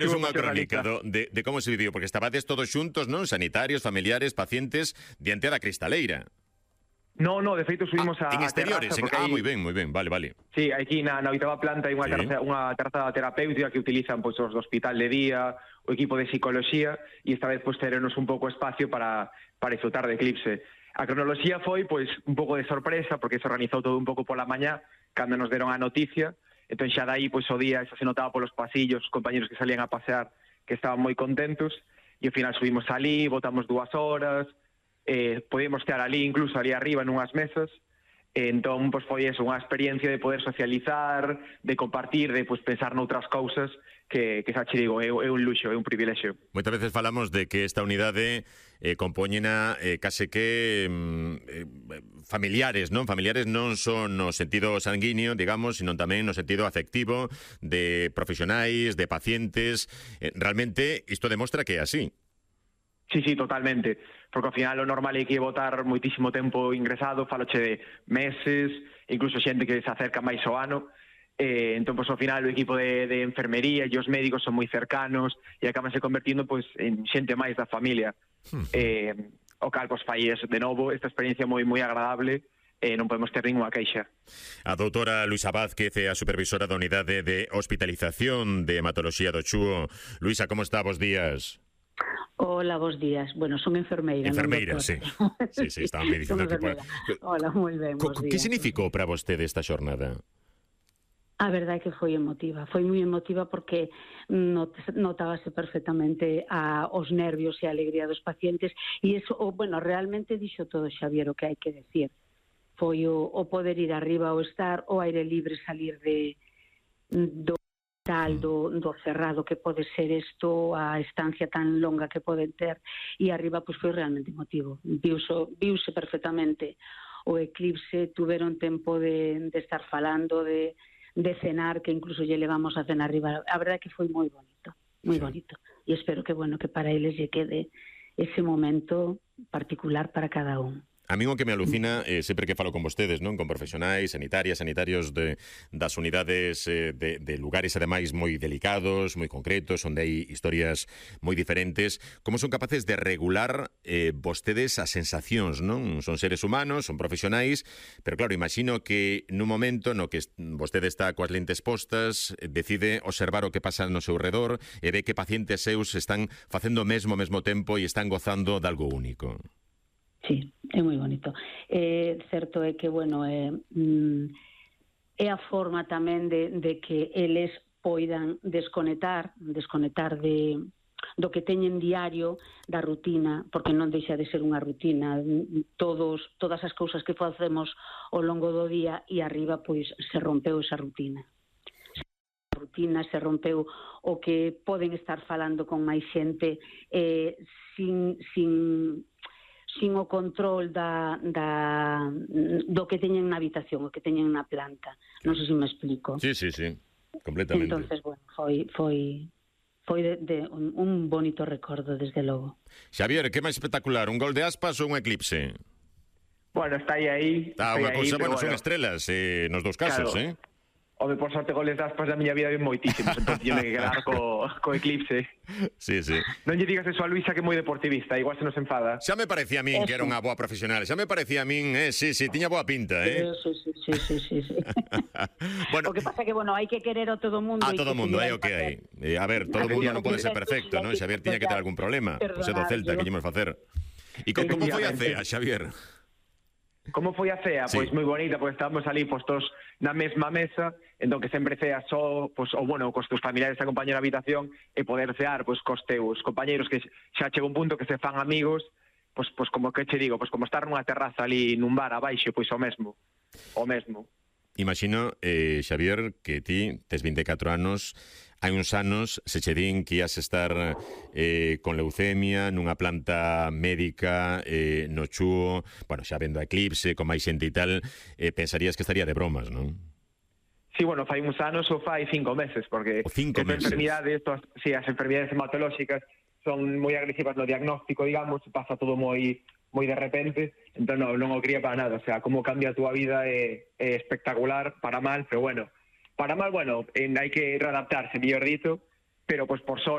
Es unha crónica de como se viviu, porque estabades todos xuntos, non? Sanitarios, familiares, pacientes, diante da cristaleira. No, de feito subimos a exteriores, terraza. Moi ben, vale. Sí, aquí na oitava planta hai unha terraza terapéutica que utilizan pois, os do hospital de día, o equipo de psicoloxía, e esta vez pois, terenos un pouco espacio para disfrutar de Eclipse. A cronoloxía foi pois un pouco de sorpresa, porque se organizou todo un pouco pola mañá, cando nos deron a noticia. Entón xa dai, pois o día, xa se notaba polos pasillos, os compañeros que salían a pasear, que estaban moi contentos, e ao final subimos ali, botamos 2 horas, podíamos estar ali, incluso ali arriba, nunhas mesas, entón, pois foi eso, unha experiencia de poder socializar, de compartir, de pois, pensar noutras cousas, que xa che digo, é un luxo, é un privilexio. Moitas veces falamos de que esta unidade compóñena case que familiares, non? Familiares non son no sentido sanguíneo, digamos, sino tamén no sentido afectivo de profesionais, de pacientes. Realmente isto demostra que é así. Sí, totalmente, porque ao final o normal é que botar moitísimo tempo ingresado, faloche de meses, incluso xente que se acerca máis ao ano, entón, pois, ao final o equipo de enfermería e os médicos son moi cercanos e acabanse convertindo pois, en xente máis da familia. O cal, pois, fai eso, de novo, esta experiencia moi agradable, non podemos ter ninguna queixa. A doutora Luisa Vázquez é a supervisora da unidade de hospitalización de hematoloxía do Chúo. Luisa, como está? Bos días. Hola, bons días. Bueno, son enfermeira. Enfermeira, sí. Sí, estaba me dicindo que... Hola, moi ben, bons días. Que significou para vostede esta xornada? A verdade é que foi emotiva. Foi moi emotiva porque notábase perfectamente os nervios e a alegría dos pacientes e eso, bueno, realmente dixo todo Xavier o que hai que decir. Foi o poder ir arriba ao estar, o aire libre, salir do cerrado que pode ser isto, a estancia tan longa que poden ter, e arriba pois foi realmente emotivo. Viuse perfectamente o eclipse, tuveron tempo de estar falando, de cenar, que incluso lle levamos a cenar arriba. A verdade é que foi moi bonito, bonito. E espero que, bueno, que para eles lle quede ese momento particular para cada un. A mí o que me alucina, sempre que falo con vostedes, non, con profesionais, sanitarias, sanitarios das unidades de lugares ademais moi delicados, moi concretos, onde hai historias moi diferentes, como son capaces de regular vostedes as sensacións, non? Son seres humanos, son profesionais, pero claro, imagino que nun momento no que vostede está coas lentes postas, decide observar o que pasa no seu redor e ve que pacientes seus están facendo o mesmo ao mesmo tempo e están gozando de algo único. Sí, é moi bonito. Certo é que, bueno, é a forma tamén de que eles poidan desconectar do que teñen diario, da rutina, porque non deixa de ser unha rutina. Todas as cousas que facemos ao longo do día e arriba, pois, se rompeu esa rutina. Se rompeu o que poden estar falando con máis xente sin o control do que teñen na habitación, o que teñen na planta. Non sei se me explico. Sí, completamente. Entonces, bueno, foi un bonito recordo, desde logo. Xavier, que máis espectacular, un gol de Aspas ou un eclipse? Bueno, está aí. Está unha cousa, bueno, son estrelas nos dous casos, claro. Home, por sorte, goles de Aspas da miña vida ven moitísimos, entón tiene que quedar co eclipse. Sí. Non lle digas eso a Luisa, que é moi deportivista, igual se nos enfada. Xa me parecía a min que era unha boa profesional, xa me parecía a min, sí, tiña boa pinta, Sí. Bueno, o que pasa que, bueno, hai que querer a todo mundo. A todo mundo, é o que hai. A ver, todo mundo non pode ser perfecto, non? Xavier tiña que ter algún problema. Pois é do Celta, que íamos facer. E como foi a cea, Xavier? Como foi a cea? Pois moi bonita, porque estábamos ali postos na mesma mesa, entón que sempre cea só, pois, ou bueno, cos teus familiares a acompañar a habitación e poder cear, pois, cos teus compañeiros que xa chega un punto que se fan amigos, pois como que che digo, pois como estar nunha terraza ali nun bar abaixo, pois o mesmo. Imagino, Xavier, que ti tes 24 anos, hai uns anos se che din que ias estar con leucemia nunha planta médica no Chúo, bueno, xa vendo a Eclipse, con máis xente e tal, pensarías que estaría de bromas, non? Sí, bueno, fai uns anos ou fai 5 meses, porque as enfermidades hematolóxicas son moi agresivas no diagnóstico, digamos, pasa todo moi de repente, entón non o quería para nada, o sea, como cambia a túa vida é espectacular, para mal, pero bueno, para mal, bueno, hai que readaptarse, mellor dito, pero pues por sorte